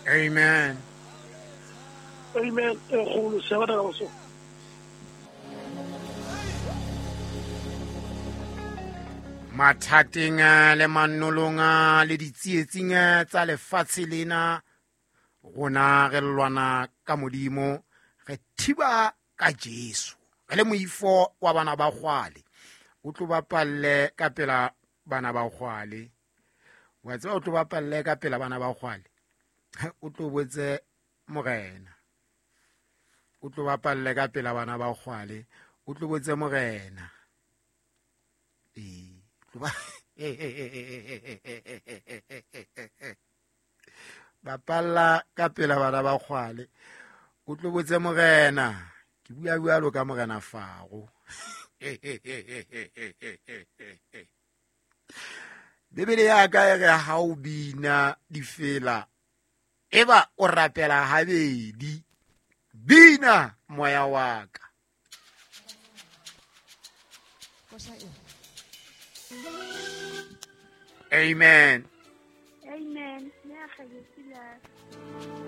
Amen. Amen e kgolo sebata ka boso. Mathateng le manolong le ditsietsing tsa lefatshe lena, rona re lwana ka Modimo, re thiba ka Jesu, re le moifo wa bana ba kgwale. O tlo bapalle ka pela bana ba kgwale, wa tseba, o tlo bapalle ka pela bana ba kgwale, o tlo botse Morena. O tlo bapalle ka pela bana ba kgwale, o tlo botse Morena. Ee, bapalla ka pela bana ba kgwale, o tlo botse Morena. Ke bua bjalo ka Morena Faro. Bibele ya ka e re ha o bina difela, eba o rapela habedi. Bina moya wa ka. Amen. Amen.